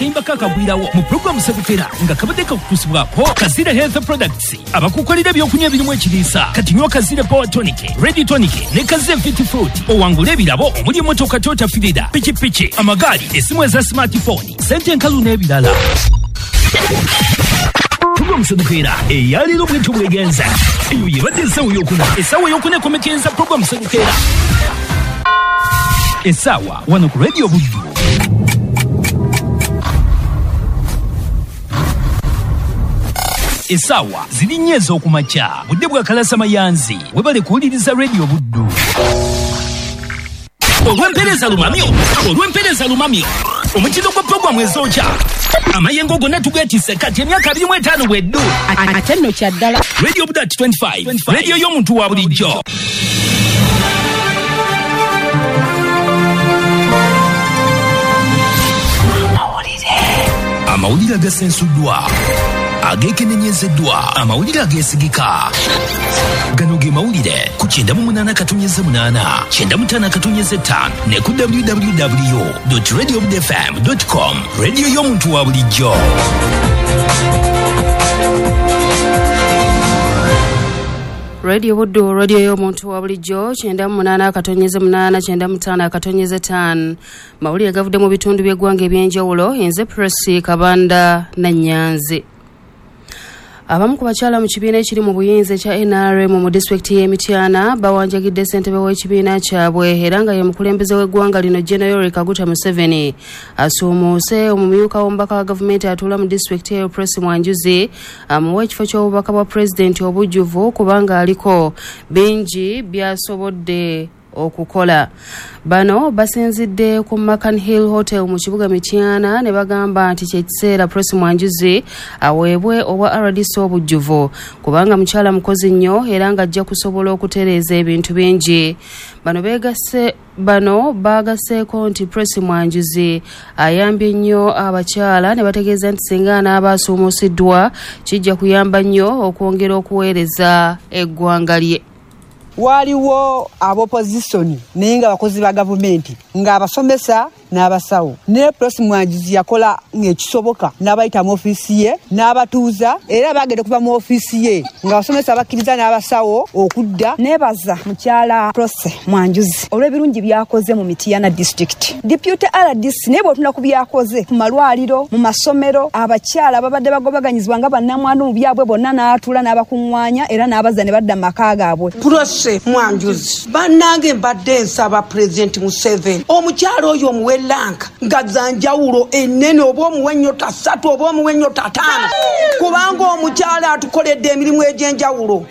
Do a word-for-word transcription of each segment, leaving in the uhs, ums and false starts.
Akayimba kakagwirawo mu pulogulaamu Sekukera nga kabadde kakutuusibwako Kazire Health Products, abakukolera ebyokunywa ebirimu ekiriisa. Kati nywa Kazire Power Tonic, Ready Tonic ne Kazire Fit Fruit, owangule ebirabo omuli emmotoka Toyota Firida, pikipiki, amagaali, essimu eza smartphone, sente enkalu n'ebirala. Pulogulaamu Sekukera eyaleero bwetyo bwegenza. Eyo yebadde essaawa eyokuna. Essaawa eyokuna ekomekereza pulogulaamu Sekukera essaawa wano ku Radio Buddu. Essaawa ziri nnya ez'okumakya, budde bwa Kalasa Mayanzi. Webale kuwuliriza Radio Buddu. Olw'empeereza lumamyo, olw'empeereza lumamyo, omutindo gwa pulogulaamu ezookya amayengo gonna tugeetisse kati emyaka abiri mu etaano bweddu. Ate nno kya ddala. Radio Buddu at twenty-five, radio y'omuntu wa bulijjo. Amawulire agasensuddwa, ageekenenyezeddwa, amawulire ageesigika. Gano ge mawulire ku kyenda mu munaana katonyeze munaana, kyenda mu ttaano katonyeze ttaano ne ku w w w dot radio buddu f m dot com. Radio y'omuntu wa bulijjo. Radio Buddu, radio y'omuntu wa bulijjo, kyenda mu munaana akatonyeze munaana, kyenda mu ttaano akatonyeze ttaano. Mawulire gavudde mu bitundu by'eggwanga eby'enjawulo. Nze Presi Kabanda Nannyanzi. Abamu ku bakyala mu kibiina ekiri mu buyinza ekya N R M mu disitulikiti y'e Mityana bawanjagidde ssentebe w'ekibiina kyabwe era nga ye mukulembeze w'eggwanga lino General Yoweri Kaguta Museveni asuumuuse omumyuka w'omubaka wa gavumenti atuula mu disitulikiti eyo Presi Mwanjuzi amuwa ekifo ky'obubaka bwa pulezidenti obujjuvu kubanga aliko bingi by'asobodde okukola. Bano basinzidde ku Macan Hill Hotel mu kibuga Mityana ne bagamba nti kye kiseera Presi Mwanjuzi aweebwe obwa R D C obujjuvu kubanga mukyala mukozi nnyo era ng'ajja kusobola okutereeza ebintu bingi. Bano beegasse bano baagaseeko nti Presi Mwanjuzi ayambye nnyo abakyala ne bategeeza nti singa anaaba asuumusiddwa kijja kuyamba nnyo okwongera okuweereza eggwanga lye. Waliwo ab'opposition naye nga bakozi ba gavumenti ng'abasomesa n'abasawo. Ne Presi Mwanjuzi yakola ng'ekisoboka n'abayita mu ofiisi ye n'abatuuza, era bagenda okuva mu ofiisi ye ng'abasomesa bakkiriza n'abasawo okudda. Neebaza mukyala Presi Mwanjuzi olw'ebirungi by'akoze mu Mityana district. Deputy R D C naye bw'otunula ku by'akoze ku malwaliro, mu masomero, abakyala ababadde bagobaganyizibwa nga bannamwandu mu byabwe bonna n'atuula n'abakuŋŋaanya era n'abazza ne badda mu maka gaabwe. Presi Mwanjuzi, bannange mbadde nsaba Pulezidenti Museveni omukyala oyo omuwe lanka nga za njawulo ennene, oba omuwe ennyota ssatu oba omuwe ennyota ttaano, kubanga omukyala atukoledde emirimu egy'enjawulo.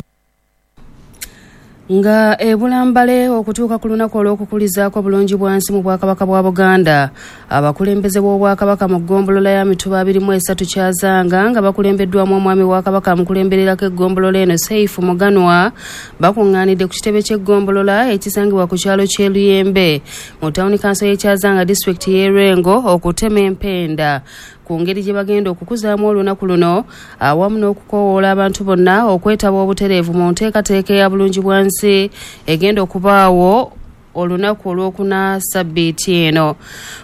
Nga ebulambale okutuuka ku lunaku olw'okukulizaako bulungi bwansi mu Bwakabaka bwa Buganda, abakulembeze b'Obwakabaka mu ggombolola ya Mituba abiri mu esatu Kyazanga nga bakulembeddwamu omwami wa Kabaka amukulembererako eggombolola eno Seifu Muganwa bakuŋŋaanidde ku kitebe ky'eggombolola ekisangibwa ku kyalo ky'e Luyembe mu tawuni kanso y'e Kyazanga disitulikiti y'e Lwengo okutema empenda ku ngeri gye bagenda okukuzaamu olunaku luno awamu n'okukoowoola abantu bonna okwetaba obutereevu mu nteekateeka eya bulungi bwansi egenda okubaawo olunaku olwokuna sabbiiti eno.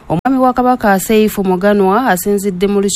Omwami wa Kabaka Seifu Muganwa asinzidde mu lukiiko